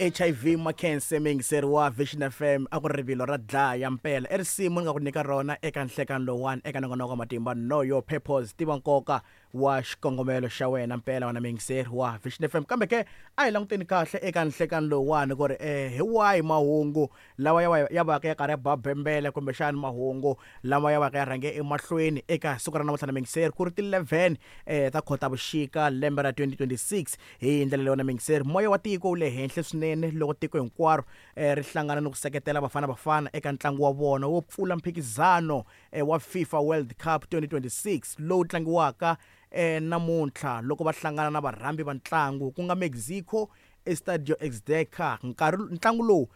HIV Makhense muyingiseri wa Vision FM a ku ri rivilo ra dlaya mpela i risimu ni nga ku nyika rona eka nhlekani lowuwani eka nongonoko wa matimba know your purpose tiva nkoka wa xikongomelo xa wena mpela wena muyingiseri wa Vision FM kambe ke a hi languteni kahle eka nhlekani lowuwani ku ri um hi wahi mahungu lawa ya ya vaka ya karhi ya ba bembele kumbexani mahungu lama ya vaka ya rhange emahlweni eka siku ra namuntlha na muyingiseri ku ri ti-11 um ta Khotavuxika lembe ra 2026 Hi ndlela leyi wena muyingiseri, moya wa tiko wu le henhla swinene loko tiko hinkwaro ri hlangana ni ku seketela Bafana Bafana eka ntlangu wa vona wo pfula mphikizano wa FIFA World Cup 2026 lowu tlangiwaka namuntlha loko va hlangana na varhambi va ntlangu ku nga Mexico eStadio Azteca. Nkarhi ntlangu lowu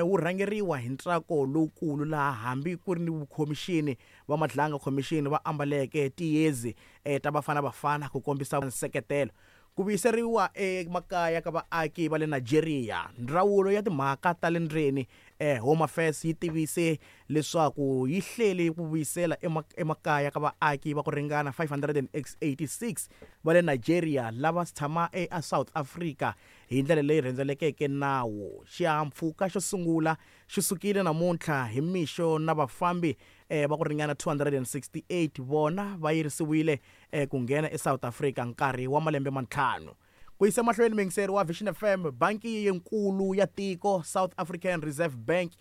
wu rhangeriwa hi ntsako lowukulu laha hambi ku ri ni vukhomixini va Madlanga Commission va ambaleke tiyezi ta Bafana Bafana ku kombisa nseketelo. Ku vuyiseriwa emakaya ka vaaki va le Nigeria. Ndzawulo ya Timhaka ta le Ndzeni, Home Affairs, yi tivise leswaku yi hlele ku vuyisela emakaya ka vaaki va ku ringana 586 va le Nigeria lava tshama eSouth Africa hi ndlela leyi rhendzelekeke nawu. Xihahampfhuka xo sungula xi sukile namuntlha hi mixo na vafambi va ku ringana 268 vona va yirisiwile ku nghena eSouth Africa nkarhi wa malembe mantlhanu. Ku yisa emahlweni muyingiseri wa Vision FM, banki yinkulu ya tiko, South African Reserve Bank,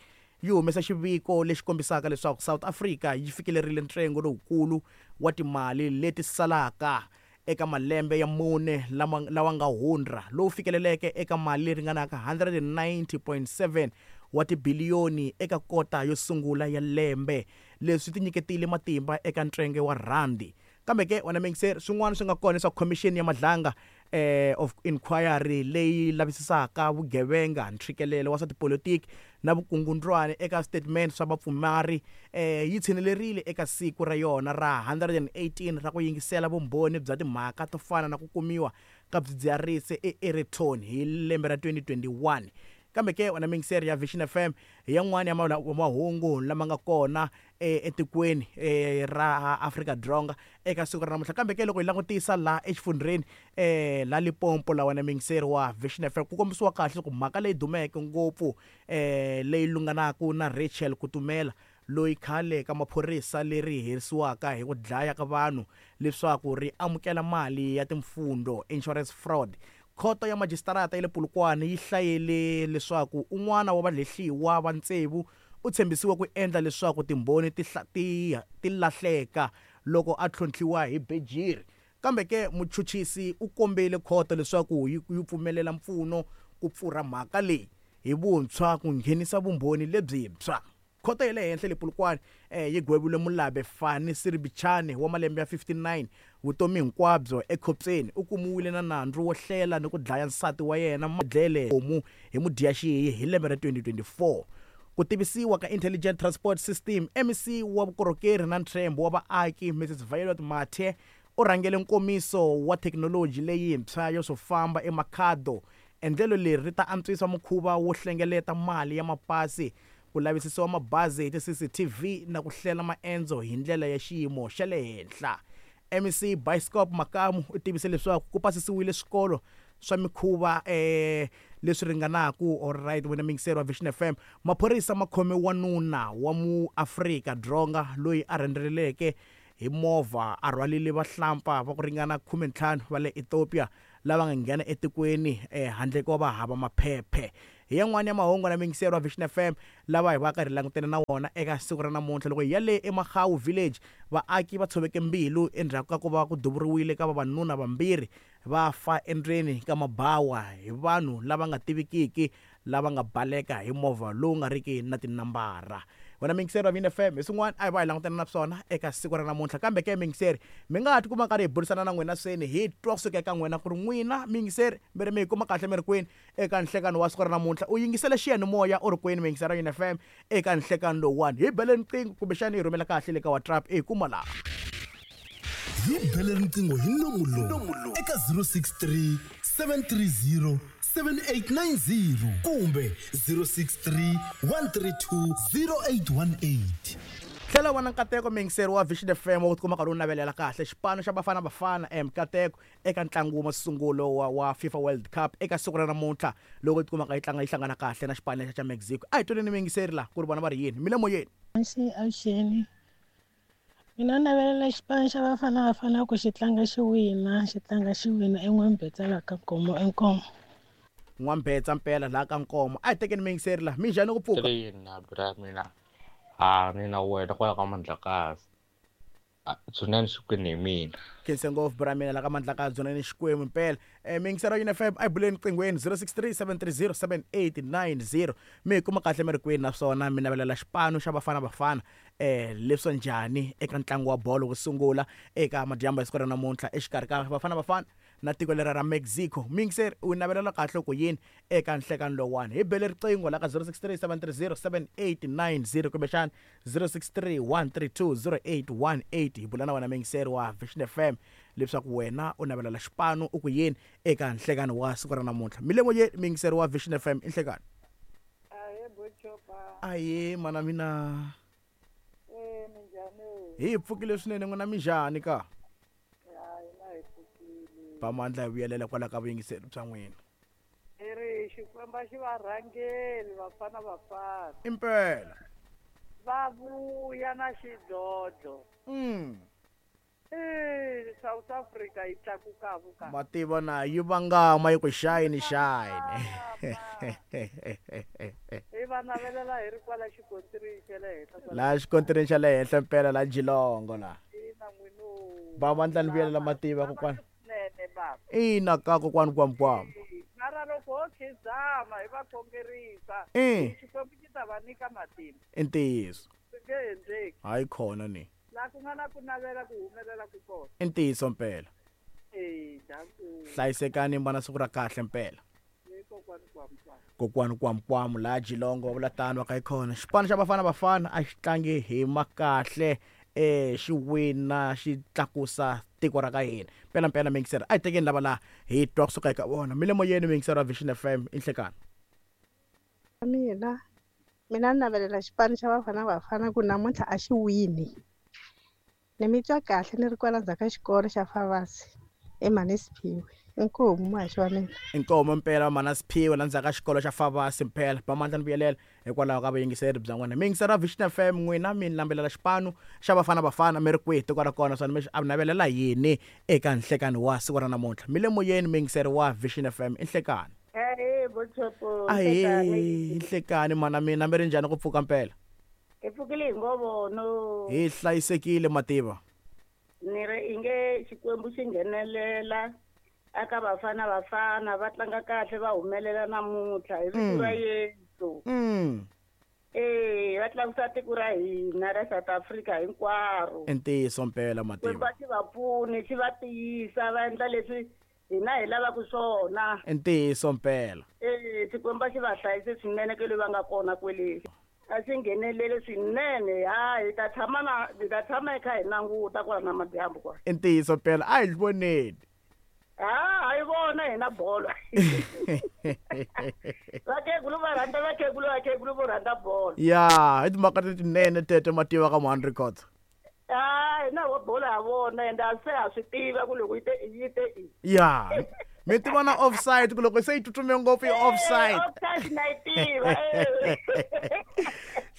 yi humesa xiviko lexi kombisaka leswaku South Africa yi fikelerile ntsengo lowukulu wa timali leti salaka eka malembe ya mune lama lawa nga hundra, lowu fikeleleke eka mali leyi ringanaka 190.7 wa tibiliyoni eka kota yo sungula ya lembe. Leswi tinyiketile matimba eka ntswenge wa rhandi. Kambe ke, wena muyingiseri, swin'wana swi nga kona leswaku Khomixini ya Madlanga of Inquiry leyi lavisisaka vugevenga, ntshikelelo wa swa tipolitiki na vukungundwani eka switetimende swa vapfumari yi tshinelerile eka siku ra yona ra 118 ra ku yingisela vumbhoni bya timhaka to fana na ku kumiwa ka swidzidziharisi eAereton hi lembe ra 2021. Kambe ke, wena muyingiseri ya Vision FM, hi yan'wana ya mahungu lama nga kona etikweni ra Afrika-Dzonga eka siku ra namuntlha. Kambe ke loko hi langutisa laha exifundzheni la Limpopo la wena muyingiseri wa Vision F_M ku kombisiwa kahle ku mhaka leyi dumeke ngopfu leyi lunghanaka na Rachel Kutumela loyi khale ka maphorisa leri herisiwaka hi ku dlaya ka vanhu leswaku ri amukela mali ya timfundho, insurance fraud. Khoto ya majisitarata ya le Polokwane yi hlayele leswaku un'wana wa valehliwa va tsevu u tshembisiwe ku endla leswaku Timbhoni ti, ti, ti lahleka loko a tlhontlhiwa hi bejiri. Kambe ke, muchuchisi u kombele khoto leswaku yi, yi pfumelela mpfuno ku pfurha mhaka leyi hi vuntshwa ku nghenisa vumbhoni lebyintshwa. Khoto ya le henhla le Polokwane yi gwevile Mulabe Fani Siribichane wa malembe ya 59 vutomi hinkwabyo ekhotsweni. U kumiwile na nandzu wo hlela ni ku dlaya nsati wa yena Madlele Homu hi Mudyaxihi hi lembe ra 2024. Ku tivisiwa ka Intelligent Transport System, MEC wa Vukorhokeri na Ntshembo wa Vaaki Mrs Violet Mathe u rhangele nkomiso wa thekinoloji leyintshwa yo swo famba eMakhado. Endlelo leri ri ta antswisa mukhuva wo hlengeleta mali ya mapasi, ku lavisisiwa mabazi hi ti-CCTV na ku hlela maendzo hi ndlela ya xiyimo xa le henhla. MEC Bioscope Makamu u tivise leswaku ku pasisiwile swikolo swa mikhuva leswi ringanaku Alright wena muyingiseri wa Vision FM, maphorisa ma khome wanuna wa muAfrika Dzonga loyi a rhendzeleleke hi movha a rhwalile vahlampfa va ku ringana 15 va le Ethiopia lava nga nghena etikweni handle ko va hava maphephe. Hi yan'wana ya mahungu na muyingiseri wa Vision FM lava hi vaka hi langutene na wona eka siku ra namuntlha. Loko hi ya le eMagau Village, vaaki va tshoveke mbilu endzhaku ka ku va ku duvuriwile ka vavanuna vambirhi va fa endzeni ka mabawa hi vanhu lava nga tivikiki lava nga baleka hi movha lowu nga riki na tinambara. Wena muyingiseri wa Vin FM, hi swin'wana a hi va hi langutana na swona eka siku ra namuntlha. Kambe ke muyingiseri, mi nga ha tikuma karhi hi burisana na n'wina swini, hi twa kusuka eka n'wina ku ri n'wina muyingiseri mi ri mi hi kuma kahle mi ri kwini eka nhlekani wa siku ra namuntlha. U yingisele xiyanimoya u ri kwini muyingiseri wa Vin FM eka nhlekani lowuwani? Hi bele riqingho kumbexana hi rhumela kahle le ka WhatsApp hi kuma laha. Hi bele riqingho hi nomu lowu eka 063 730 7890 kumbe 063 132 0818. Tlhela u va na nkateko muyingiseri wa Vision FM wa ku tikuma karhi u navelela kahle xipano xa Bafana Bafana mikateko eka ntlangu wa masungulo wa wa FIFA World Cup eka siku ra namuntlha loko yi tikumaka yi tlanga yi hlangana kahle na xipano lexa xa Mexico. A hi twaneni muyingiseri la ku ri vona va ri yini. Mi le moyeni. Avuxeni avuxeni mina ni navelela xipano xa Bafana Bafana ku xi tlanga xi wina xi tlanga xi wina i N'wambetsa la ka Nkomo inkomu. N'wambetsa mpela laha ka Nkomo. A hi tekeni muyingiseri la. Minjhani ku pfuka? Ina bra mina ha ni na wena kwala ka Mandlakazi dzunani Xikwembu hi mina. Khense ngopfu bra mina la ka Mandlakazi dzunani Xikwembu mpela. Miyingiseri wa UNFM a hi buleni qinghweni 063 730 7890 mi hi kuma kahle mi ri kwini naswona mi navelela xipano xa Bafana Bafana leswo njhani eka ntlangu wa bolo wo sungula eka madyambu ya siku ra namuntlha exikarhi ka Bafana Bafana na tiko lera ra Mexico. Miyingiseri u navelela kahle ku yini eka nhlekani lowuwani? Hi bele riqingho la ka 063 730 7890 kumbexana 063 132 0818 hi bula na wena muyingiseri wa Vision FM leswaku wena u navelela xipano u ku yini eka nhlekani wa siku ra namuntlha. Mi le moyeni muyingiseri wa Vision FM i nhlekani. Ahee Bochopa. Ahee mana mina. Eh minjhani? Hi pfukile swinene n'wina minjhani ka? Ya hina hi pfukile. Ba mandla hi vuyelela kwala ka vuyingiseri bya n'wina. Hi ri Xikwembu a xi va rhangeli vafana vafana. Impela. Va vuya na xidlodlo. Eh South Africa yi tlakuka vuka. Mativa na yi vangama yi ku shine shine. Hi va navelela hi ri kwala xikontirini xa le henhla. La xikontirini xa le henhla mpela la Jilongo la. Ina n'wino. Ba mandla ni vuyelela mativa kokwana. Nene baba. Ina ka kokwani kwamkwam. Mara loko ho khizama hi va khongerisa. Xikwembu xi ta va nyika matimba. I ntiyiso. Swi nge endleki. Hayi khona ni. La ku nga na ku navela ku humelela ku kona. I ntiyiso mpela. Eh, danku. Hlayisekani mi va na siku ra kahle mpela. Ni kokwani kwamkwam. Kokwani kwamkwam la Jilongo va vula tano va ka yi khona. Xipano xa Bafana Bafana a xi tlangi hi makahle eh xi wina xi tlakusa tiko ra ka hina. Mpela mpela miyingiseri a hi tekeni lava la hi twa kusuka eka vona. Mi le moyeni miyingiseri wa Vision FM i nhlekani. Mina mina ni navelela xipano xa Bafana Bafana ku namuntlha a xi wini. Ni mi twa kahle ni ri kwala ndzhaku ka xikolo xa Favasi eManisiphiwe. Inkomu muhaxi wa mina. Inkomu mpela Manasiphiwe la ndzhaku ka xikolo xa Favasi mpela. Ba mandla ni vuyelela hikwalaho ka vuyingiseri bya n'wina. Miyingiseri wa Vision FM n'wina mi nambelela xipano xa Bafana Bafana mi ri kwihi tiko ra kona naswona mi xi navelela yini eka nhlekani wa siku ra namuntlha. Mi le moyeni muyingiseri wa Vision FM i nhlekani. Ahee Bochopo. Ahee nhlekani mana mina mi ri njhani ku pfuka mpela? Hi pfukile hi ngovono. Hi hlayisekile mativa. Ni ri inge Xikwembu xi nghenelela aka Bafana Bafana va tlanga kahle va humelela namuntlha hi vito ra Yesu. Eh va tlakusa tiko ra hina ra South Africa hinkwaro. I ntiyiso mpela mativa. Xikwembu xi va pfuni xi va tiyisa va endla leswi hina hi lavaka swona. I ntiyiso mpela. Eh Xikwembu xi va hlayise swinene ke le va nga kona kwele. A xi nghenelele swinene ha hi ta tshama na hi ta tshama hi kha hi languta kwala na madyambu kwala. I ntiyiso mpela a hi voneni. Ha hi vona hina bolo. Vakhegulu va rhandza vakhegulu vakhegulu vo rhandza bolo. Ya hi timhaka letinene tete mativa ka Mhani Records. Ha hina vo bolo ha vona ende a se ha swi tiva ku loko yi te yi te i. Ya mi tiva na offside ku loko se yi tsutsume ngopfu yi offside. Offside na yi tiva.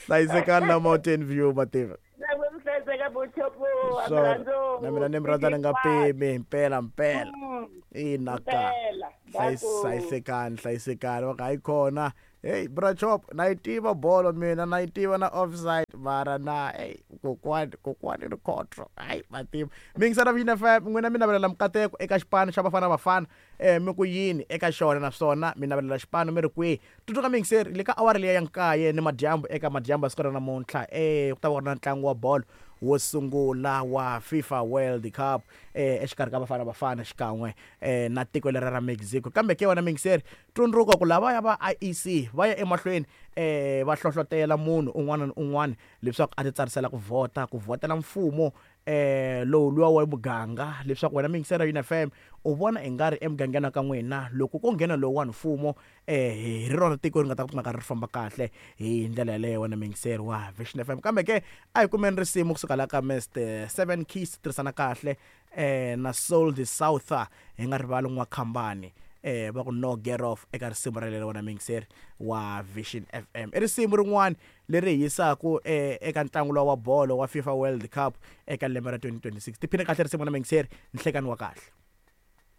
Hlayisekani la Mountain View mativa. Na mi hlayiseka Bochopo Swona na mina ni mi rhandza ni nga pimi mpela mpela. Ina ka. Hlayisekani hlayisekani va ka hayi khona. Hey bra chop na yi tiva bolo mina na yi tiva na offside mara na hey kokwani kokwani Rikhotso hayi mativa. Miyingisela Vision FM n'wina mi navelela mikateko eka xipano xa Bafana Bafana mi ku yini eka xona naswona mi navelela xipano mi ri kwihi. Tsundzuka miyingiseri le ka awara liya ya nkaye ni madyambu eka madyambu ya siku ra namuntlha ku ta va ku ri na ntlangu wa bolo wo sungula wa FIFA World Cup exikarhi ka Bafana Bafana xikan'we na tiko lera ra Mexico. Kambe ke wena miyingiseri tsundzuka ku lavaya va IEC va ya emahlweni va hlohlotela munhu un'wana na un'wana leswaku a ti tsarisela ku vhota ku vhotela mfumo Lowu luwa wa muganga, leswaku wena miyingiseri ya UniFM u vona i nga ri emugangeni wa ka n'wina loko ko nghena lowuwani mfumo, hi ri rona tiko ri nga ta kumeka ri famba kahle hi ndlela yaleyo, wena miyingiseri wa Vision FM. Kambe ke a hi kumeni risimu kusuka la ka Mr Seven Keys, tirhisana kahle na Soul the Souther, hi nga rivali n'wakhambani, va ku no get off eka risimu relero. Wena miyingiseri wa Vision FM, i risimu rin'wana leri hi yisaku eka ntlangu lowa wa bolo wa FIFA World Cup eka lembe ra 2026. Tiphine kahle risimu na miyingiseri, nhlekani wa kahle.